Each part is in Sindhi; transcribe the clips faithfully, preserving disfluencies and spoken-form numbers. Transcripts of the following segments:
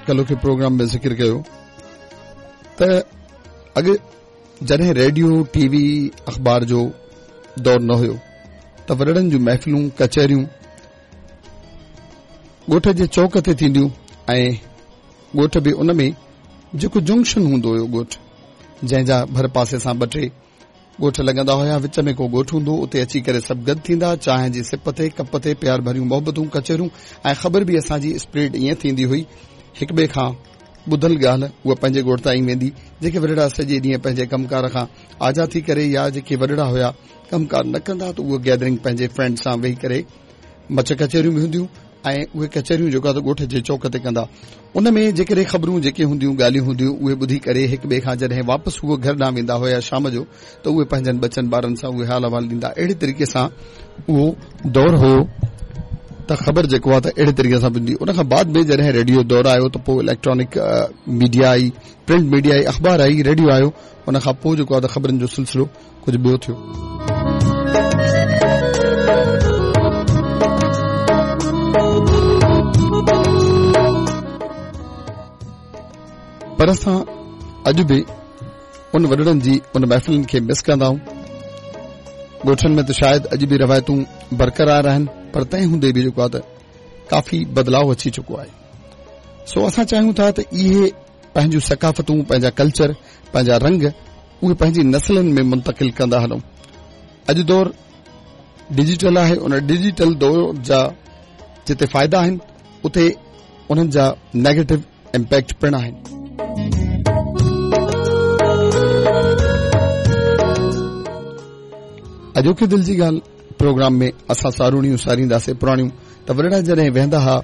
ڪلهوڪي پروگرام ۾ ذڪر ڪيو ته اڳ جڏهن ريڊيو، ٽي وي، اخبار جو دور نه هيو ته وڏڙن جون محفلون، ڪچهريون ڳوٺ جي چوڪ تي ٿينديون ۽ ڳوٺ به ان ۾ جيڪو جنڪشن هوندو هيو ڳوٺ، جنهن جا ڀر پاسي سان ٻه ٽي ڳوٺ لڳندا هيا، وچ ۾ ڪو ڳوٺ هوندو، اتي اچي ڪري سڀ گڏ ٿيندا، چانهه جي سپ تي، ڪپ تي پيار ڀريون محبتون، ڪچهريون ۽ خبر به اسان جي اسپريڊ ائين ٿيندي هئي، هڪ ٻئي کان ٻڌل ڳالهه اها پنهنجي ڳوٺ تائين ويندي. جيڪي وڏڙا سڄي ڏينهن پنهنجي ڪم ڪار کان آجا ٿي ڪري يا جيڪي وڏڙا هيا ڪم ڪار نه ڪندا ته اهو گيدرنگ پنهنجي فرينڊ سان ويهي ڪري مچ ڪچهريون به هونديون ۽ اهي ڪچهريون جيڪو آهي ته ڳوٺ جي چوڪ تي ڪندا. ان ۾ جيڪڏهن خبرون جيڪي هونديون، ڳالهيون هونديون، اهي ٻڌي ڪري هڪ ٻئي کان جڏهن واپس اهو گهر ڏانهن ويندا هيا شام جو ته اهي پنهنجن ٻچن ٻارن سان اهي حال احوال ڏيندا. اهڙي طريقي سان اهو دور هيو ته خبر جيڪو آهي ته اهڙي طريقي سان پوندي. ان کان بعد ۾ جڏهن ريڊيو دور آيو ته پوء اليڪٽرانڪ ميڊيا آئي، پرنٽ ميڊيا آئي، اخبار آئي، ريڊيو آيو. ان کان پوء جيڪو آهي ته خبرن جو سلسلو ڪجهه ٻيو ٿيو. پر اسان اڄ به ان وڏڙن جي ان محفلن کي مس ڪندا آهيون. ڳوٺن ۾ ته شايد اڄ به روايتون برقرار آهن، پر تنهن هوندي به جيڪو آهي ته ڪافي بدلاء اچي چڪو آهي. سو اسان چاهيون ٿا ته اهي پنهنجون ثقافتون، پنهنجا ڪلچر، پنهنجا رنگ اهي پنهنجي نسلن ۾ منتقل ڪندا هلون. اڄ دور ڊجيٽل آهي، ان ڊجيٽل دور جا جتي فائدا آهن اتي انهن جا نيگيٽو امپيڪٽ پڻ آهن. اڄوڪي دل جي ڳالهه پروگرام ۾ اسان ساروڻيون سارينداسين پراڻيون. ته وڏڙا جڏهن ويهندا هئا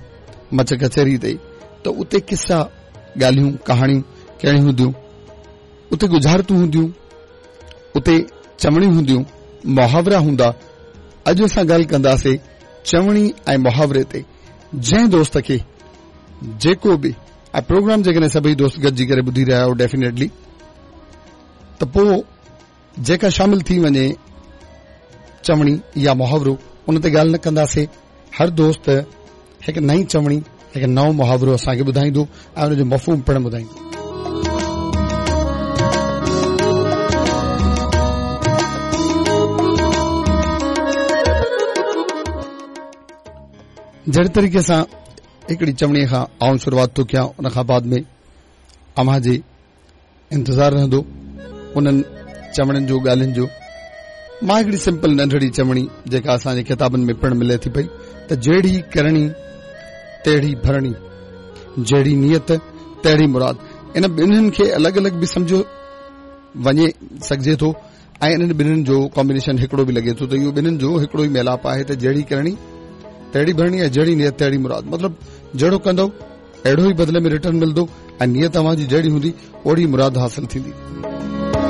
مچ ڪچهري تي ته اتي قصا، ڳالهيون، ڪهاڻيون ڪهڙيون هونديون، اتي ڳجهارتون هونديون، اتي چوڻيون هونديون، محاورا هوندا. اڄ اسان ڳالهه ڪنداسين چوڻي ۽ محاوري تي. جنهن دوست کي جيڪو به ۽ پروگرام جيڪڏهن سڀئي دوست گڏجي ڪري ٻڌي رهيا آهيو ڊيفينيٽلي ته پوء جيڪا شامل ٿي وڃي چوڻي يا محاورو ان تي ڳالهه نه ڪنداسين. هر دوست هڪ نئين چوڻي، هڪ نئون محاورو اسان کي ٻڌائيندو ۽ ان جو مفهوم پڻ ٻڌائيندو. جهڙي طريقي سان هڪڙي چوڻي کان آئون شروعات ٿو ڪيان، ان کان بعد ۾ اوهان جي انتظار رهندو انهن چوڻين جو، ڳالهين جو. مان هڪڙي سمپل ننڍڙي چوڻي جيڪا اسان جي ڪتابن ۾ پڻ ملي ٿي پئي ته جهڙي ڪرڻي تهڙي ڀرڻي، جهڙي نيت تهڙي مراد. ان ٻنهين کي الڳ الڳ به سمجهيو وڃي سگهجي ٿو ۽ انهن ٻنهين جو ڪامبينيشن هڪڙو به لڳي ٿو ته اهو ٻنهين جو هڪڙو ئي ميلاپ آهي ته جهڙي ڪرڻي تهڙي ڀرڻي ۽ جهڙي نيت تهڙي مراد. مطلب جهڙو ڪندو اهڙو ئي بدلي ۾ ريٽرن ملندو ۽ نيت اوهان جي جهڙي هوندي اوڙي مراد حاصل ٿيندي.